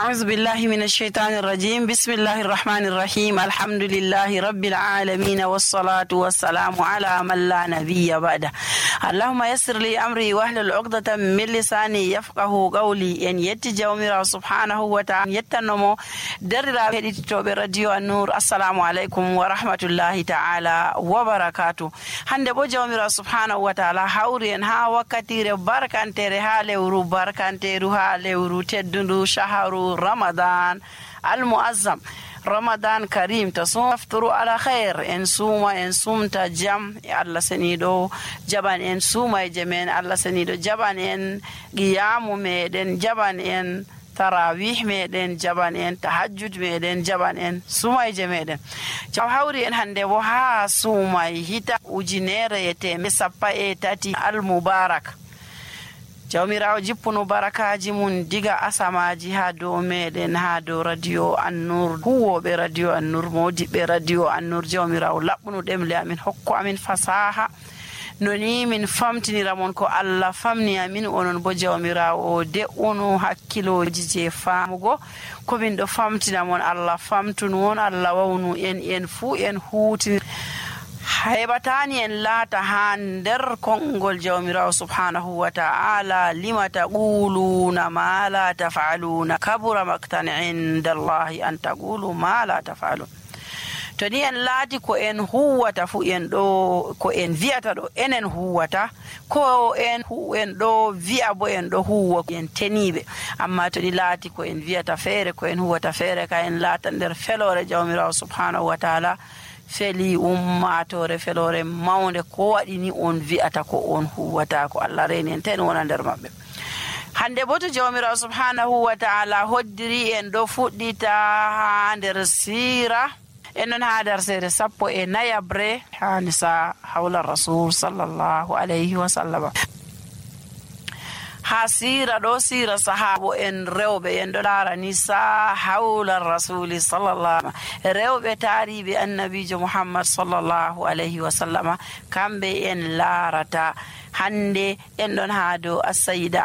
أعوذ بالله من الشيطان الرجيم. بسم الله الرحمن الرحيم. الحمد لله رب العالمين والصلاة والسلام على من لا نبي بعده. اللهم يسر لي أمري واحلل عقدة من لساني يفقه قولي. إن يتجاومر سبحانه وتعالى يتنمو درلا هديتو براديو النور. السلام عليكم ورحمة الله تعالى وبركاته. hande bo jawmira subhanahu wa ta'ala hawri en ha wakkatire barkantere ha lewru barkanteru ha lewru teddundu shaharu ramadan al-muazzam ramadan karim tasum afturu ala khair en suma en sumta jam e Allah senido jaban en suma e jemen Allah senido jaban en qiyamu meden jaban en tarawih meɗen jaban en tahajjud meɗen jaban en sumayje meɗen jaw hawri en hande bo ha sumay hita ujunere e teme sappa e tati al mubarak jawmirawo jippunu barakaji mun diga asamaji ha dow meɗen ha dow radio annur huwoɓe radio annur modiɓe radio annur jawmirawo laɓɓunu ɗemle amin hokku amin fasaha noni min famtinira mon ko Allah famni amin onon bo jawmirawo de onu hakkiloji je famugo ko min do famtina mon Allah famtunu on Allah wawnu en fu en huti haybatani en laata ha nder kongol jawmirawo subhanahu wa ta'ala lima taquluna ma la taf'aluna kabura maktan inda Allah an taqulu ma la taf'alun. To ni en laati ko en huwata fu en ɗo ko en vi'ata ɗo enen huwata ko en ɗo vi'a bo en ɗo huwa en teniɓe amma to ni laati ko en vi'ata feere ko en huwata feere ka en laata nder felore jawmirawo subhanahu wa ta'ala feli ummatore felore mawnde ko waɗi ni on vi'ata ko on huwata ko Allah reni en ten wona nder maɓɓe. hande bo to jawmirawo subhanahu wa ta'ala hoddiri en ɗo fuɗɗita ha nder sira enon ha darsere sappo e nayabre ha nisa hawla rasul sallallahu alayhi wa sallam ha sira ɗo sira sahabo en rewɓe en ɗo laara nisa hawla rasuli sallallahu rewɓe taariɓe annabijo muhammad sallallahu alayhi wa sallam kamɓe en laarata hande en ɗon ha dow as-sayyida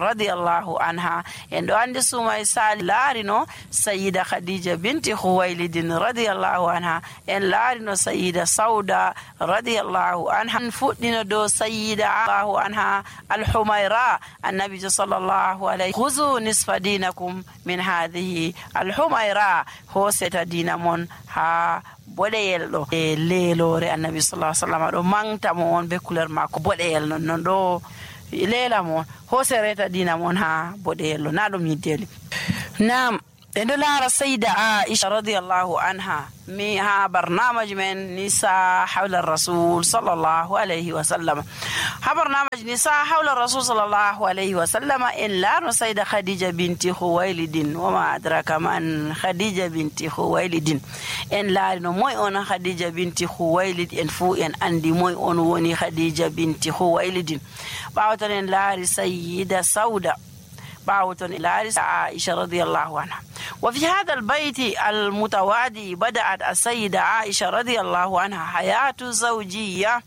radiyallahu anha en ɗo andi sumay sali laarino sayyida khadija binti khuwaylidin radiyallahu anha en laarino sayyida sauda radiyallahu anha fuɗɗino dow sayyida allahu anha al-humayra annabi sallallahu alayhi khuzu nisfa dinakum min hadhihi al-humayra hoseta dina mon ha boɗeyel ɗo e leelore annabi sallallahu alaihi wasallam ɗo mangta mo on be couleur makko boɗeyel non ɗo leela mon hosereta dina mon ha boɗeyel ɗo na ɗum yiddeli nam en ɗo laara sayda aisha radiyallahu anha mi ha barnamaji men nisa hawla rasul sallallahu alayhi wa sallam ha barnamaji nisa hawla rasul sallallahu alayhi wa sallam en laarno sayda khadija binti khuwaylidin wama adraka man khadija binti khuwaylidin en laarino moy on khadija binti khuwaylid en fu en andi moy on woni khadija binti khuwaylidin bawton en laari sayyida sauda باوتن إلى عائشة رضي الله عنها. وفي هذا البيت المتوادي بدأت السيدة عائشة رضي الله عنها حياة زوجية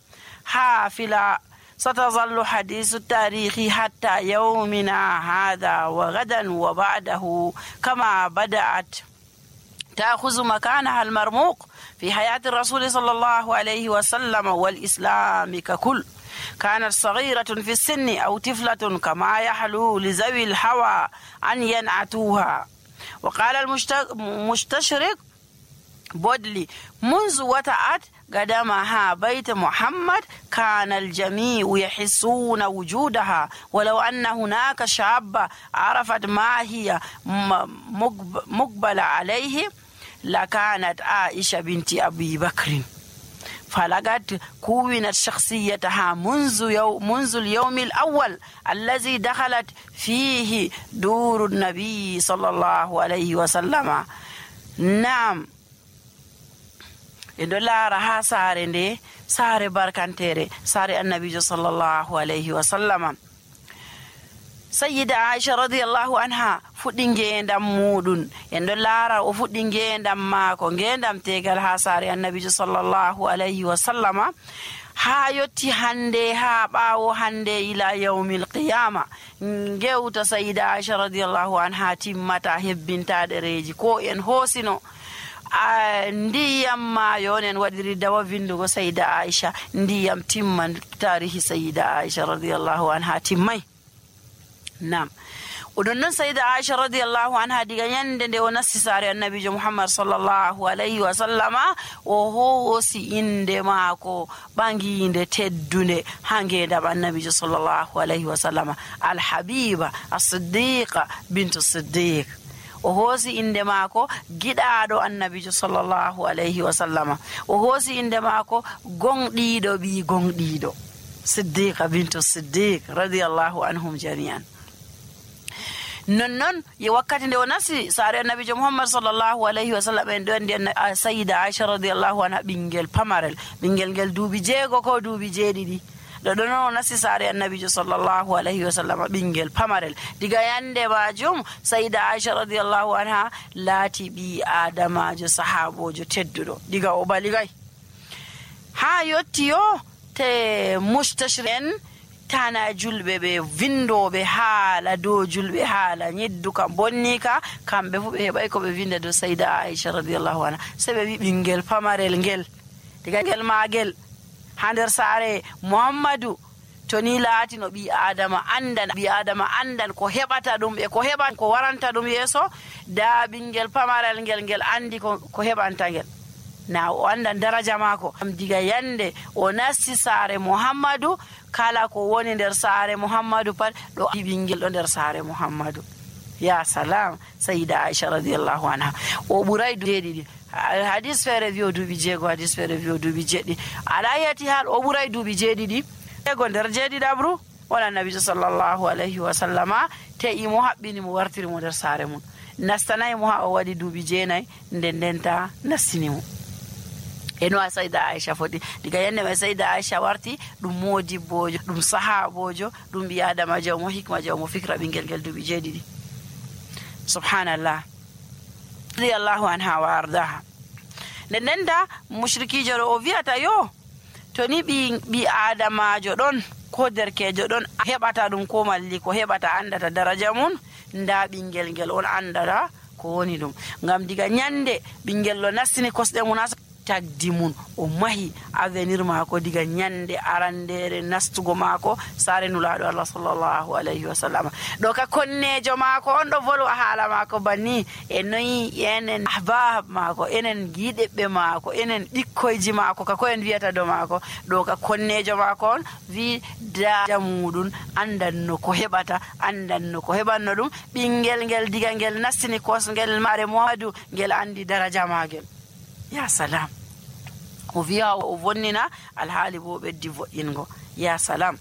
حافلة ستظل حديث التاريخ حتى يومنا هذا وغدا وبعده كما بدأت تأخذ مكانها المرموق في حياة الرسول صلى الله عليه وسلم والإسلام ككل. كانت صغيرة في السن أو طفلة كما يحلو لذوي الهوى أن ينعتوها. وقال المستشرق بودلي منذ وطأت قدمها بيت محمد كان الجميع يحسون وجودها ولو أن هناك شاب عرفت ما هي مقبل عليه لكانت عائشة بنت أبي بكر فلقد كونت شخصيتها منذ اليوم الأول الذي دخلت فيه دور النبي صلى الله عليه وسلم. نعم إدولا رها ساري ساري بركانتيري ساري النبي صلى الله عليه وسلم. sayyida aisha radiyallahu anha fuɗɗi ngendam muɗum en ɗo laara o fuɗɗi ngendam maako ngendam tegal ha saare annabijo sallallahu alayhi wa sallama haa yotti hande haa ɓaawo hande ila yawmil qiyama gewta sayida Aisha radiyallahu anha timmata hebbinta ɗereji ko en hoosino ndiyam maayo nen waɗiri dawa vindugo sayida Aisha ndiyam timman tarihi sayida Aisha radiyallahu anha timmay. Nam oɗon noon sayida Aisha radiyallahu anha diga nyande nde o nasti saare annabijo Muhammad sallallahu alayhi wa sallama o hoosi inde maako ɓanginde teddunde ha ngendam annabijo sallallahu alayhi wa sallama alhabiba as-siddiqa bintu siddiq. O hoosi inde maako giɗaaɗo annabijo sallallahu alayhi wa sallama. O hoosi inde maako gonɗiiɗo ɓi gonɗiiɗo siddiqa bintu siddiq radiyallahu anhum jami'an. non ye wakkati nde o nasti saare annabijo Muhammad sallallahu alayhi wa sallam en ɗo andi sayida Aisha radiyallahu anha ɓingel pamarel, ɓingel ngel duuɓi 6 ko duuɓi 7 ɗo ɗon o nasti saare annabijo sallallahu alayhi wa sallam ɓingel pamarel. diga yande majum sayida Aisha radiyallahu anha laati ɓi adamajo sahabojo tedduɗo diga o baligay ha yotti yo te mustashri'en tana julɓe ɓe vindoɓe haala dow julɓe haala ñeddu kam bonni ka kamɓe fu ɓe heɓay ko ɓe vinda dow sayida Aisha radiyallahu anha se ɓe wi ɓingel pamarel ngel diga ngel magel ha nder saare Muhammadu to ni laati no ɓi adama andan ko heɓata ɗum e ko heɓan ko waranta ɗum yeeso da ɓingel pamarel ngel andi ko heɓanta ngel na o andan daraja maako. Diga yande o nasti saare Muhammadu kala ko woni nder saare Muhammadu pat ɗo ɓingel ɗo nder saare Muhammadu. Ya salam sayida Aisha radiyallahu anha o ɓuray 7 hadis feere wi o duuɓi 6 hadis feere wi o duuɓi 7 ala yati hal o ɓuray duuɓi 7 ego nder 7 ɗabru on annabijo sallallahu alayhi wa sallama te'i mo haɓɓini mo wartiri mo nder saare mum nastanayi mo ha o waɗi duuɓi 9 ndenta nastini mo. eno a sayida Aisha foti diga yande mai sayida Aisha warti ɗum modibbojo ɗum sahabojo ɗum ɓi adama jawmo hikma jawmo fikra ɓingel ngel duuɓi 7 subhanallah radiyallahu anha wa ardaha. ndenda mushrikijo ɗo o wiyata yo to ni ɓi adamajo ɗon ko derkejo ɗon heɓata ɗum ko malli ko heɓata andata daraja mum nda ɓingel ngel on andata ko woni ɗum ngam diga nyande ɓingel ɗo nastini kosɗe mum tagdi mum o mahi avenir maako diga nyande arandere nastugo maako saare nulaaɗo Allah sallallahu alayhi wa sallam ɗo ka konnejo maako on ɗo volwa haala maako banni e noyi enen ahbab maako enen giɗeɓɓe maako enen ɓikkoyji maako ka koyen wiyata do maako ɗo ka konnejo maako on wi daraja muɗum andanno ko heɓata andanno ko heɓanno ɗum ɓingel ngel diga ngel nastini kosngel maare Muhammadu ngel andi daraja maagel. Ya salam o wiya o vonnina alhaali bo ɓeddi vo'ingo. Ya salam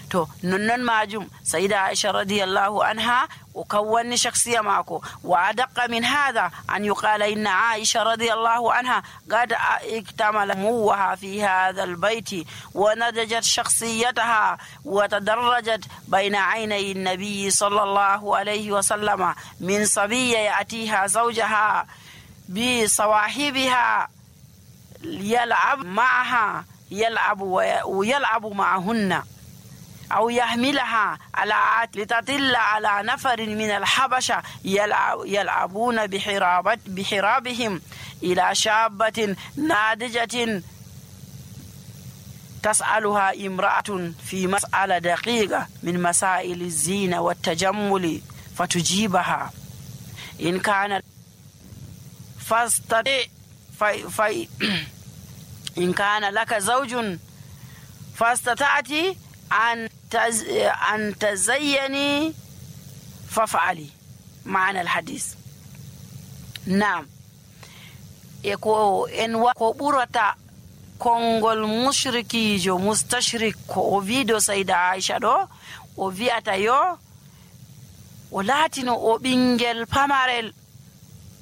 to nonnon majum sayida Aisha radiyallahu anha وكون شخصية ماكو. وأدق من هذا أن يقال إن عائشة رضي الله عنها قد اكتمل موها في هذا البيت ونضجت شخصيتها وتدرجت بين عيني النبي صلى الله عليه وسلم من صبية يأتيها زوجها بصواحبها يلعب معها ويلعب معهن أو يحملها على لتطل على نفر من الحبشة يلعبون بحرابهم إلى شابة ناضجة تسألها امرأة في مسألة دقيقة من مسائل الزينة والتجمل فتجيبها إن كان إن كان لك زوج فاستطعت أن تزيني فافعلي معنى الحديث. نعم إن وقبرة kongol mushrikijo mustashrik ko o wido sayda Aisha do o wi'ata yo o latino o ɓingel pamarel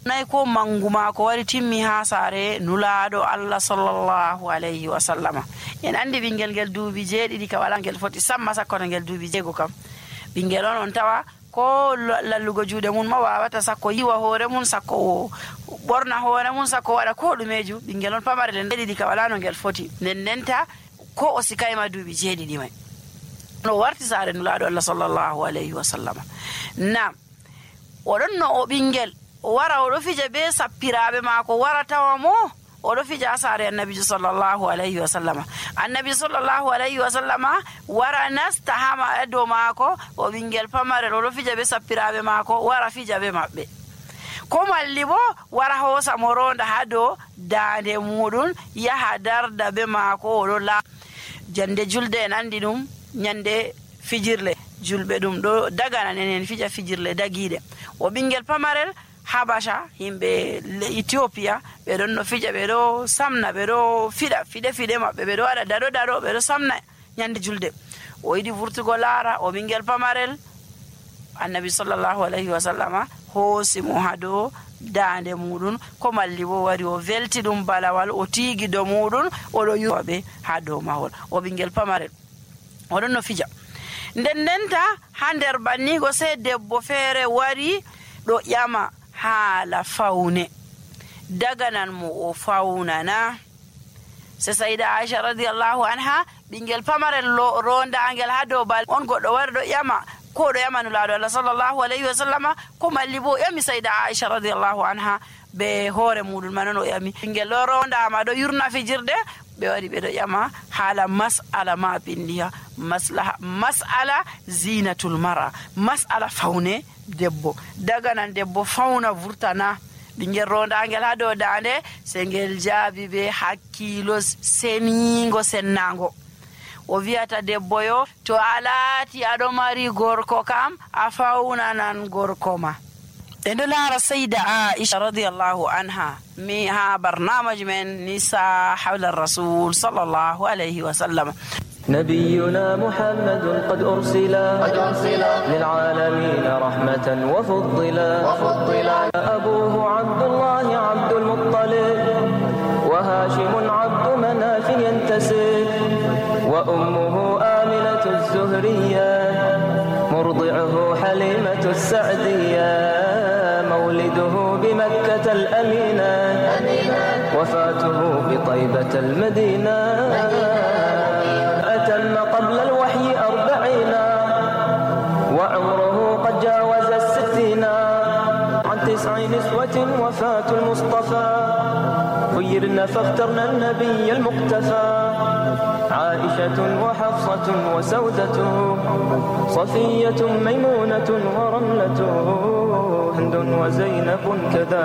nay ko manguma ko wari timmi ha sare nulaado Allah sallallahu alayhi wa sallama. En andi ɓingel ngel duubi 7 ka wala ngel foti samma sakkoto ngel duubi 6 kam ɓingel on tawa maako lallugo juuɗe mum ma wawata sakko yiwa hoore mum sakko ɓorna hoore mum sakko waɗa ko ɗumeju. ɓinguel on pamarel en ɗiɗi ka wala no ngel foti ndenta ko o sikayma duuɓi 7 mai no warti saare nulaaɗo Allah sallallahu alayhi wa sallama. Nam oɗon no o ɓinguel o wara oɗo fija be sappiraɓe maako wara tawa mo oɗo fija saare annabijo sallallahu alayhi wa sallama. Annabi sallallahu alayhi wa sallama wara nasta ha dow maako o ɓinguel pamarel oɗo fija be sappiraɓe maako wara fija be maɓɓe. Ko malli bo wara hoosa mo ronda ha dow daande muɗum yaha darda be maako oɗo jande julde en andi ɗum nyande fijirle julɓe ɗum ɗo dagana enen fija fijirle dagiɗe. O ɓinguel pamarel Habasha himɓe Ethiopia ɓe ɗon no fija ɓe ɗo samna ɓe ɗo fiɗa fiɗe maɓɓe ɓe ɗo waɗa daɗo ɓe ɗo samna nyande julde. O yiɗi vurtugo laara o ɓinguel pamarel annabi sallallahu alayhi wa sallama hoosi mo ha dow daande muɗum ko malli bo wari o welti ɗum balawal o tiigi dow muɗum oɗo yuwaɓe ha dow mahol. O ɓinguel pamarel oɗon no fija ndenta ha nder bannigo sey debbo feere wari ɗo ƴama haala fawne daganan mo o fawnana. se sayida Aisha radiyallahu anha ɓinguel pamarel rondangel ha dow bal on goɗɗo wari ɗo ƴama ko ɗo ƴama nulaaɗo Allah sallallahu alayhi wa sallama ko malli bo ƴami sayida Aisha radiyallahu anha be hoore muɗum manon o ƴami ɓinguel ɗo rondama ɗo yurna fijirde ɓe wari ɓe ɗo ƴama haala mas'ala ma pindiha mas'ala zinatul mara mas'ala fawne debbo daganan debbo fawna vurtana ɓinguel rondangel ha dow dande se ngel jaabi be hakkilo senigo sennago o wiyata debbo yo to a laati aɗo mari gorko kam a fawnanan gorko ma. en ɗo laara sayda Aisha radiyallahu anha mi ha barnamaji men nisa hawla rasul sallallahu alayhi wa sallam. نبينا محمد قد أرسل للعالمين رحمة وفضلا أبوه عبد الله عبد المطلب وهاشم عبد مناف ينتسب وأمه آمنة الزهرية مرضعه حليمة السعدية مولده بمكة الأمينة وفاته بطيبة المدينة أتم قبل الوحي 40 وعمره قد جاوز 60 عن 9 نسوة وفاة المصطفى خيرن فاخترن النبي المقتفى عائشة وحفصة وسودة صفية ميمونة ورملة هند وزينب كذا